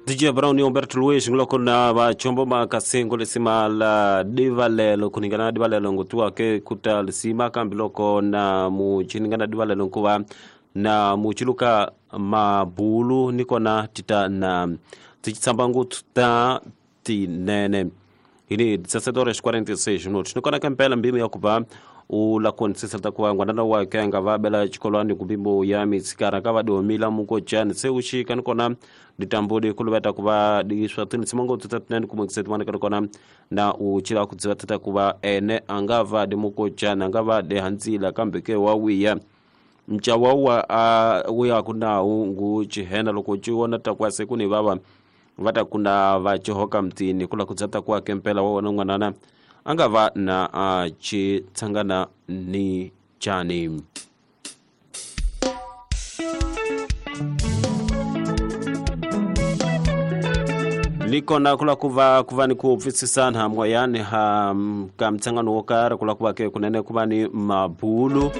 DJ Brown Humberto Luiz nguloko na vachombo makasengo lisima la divalelo kuningana na divalelo ngutiwa ke kuta lisima kambi loko na muchiningana divalelo nkuva na muchiluka mabulu nikona tita na tichitsamba nguthu ta tinene ini 17 horas 46 minutos nikona kempela mbimi yakuva ula konisisa takuva ngwanana wake anga vabela chikolwani kumbimbo ya mitsikara ka vadiomila mukochani se uxika nikona ditambudi kuluveta kuva diswa tinisimango tutatinene kumwekisetimana nikona na uchila kudziva tata kuva ene anga va di mukochani anga va di handzila kambe ke wa wiya mchawawa a wuya kunawu ngu chihena loko chiwona takuva se kuni vava va ta kuna va chihoka mtini kula kudzata kuva kempela wa wona n'wanana a nga va na a chi tshangana ni chani. Likona kula kuva ni ku pfisisana moyani ha ka mtsangano wo karhi kula kuva ke kunene kuva ni mabulu.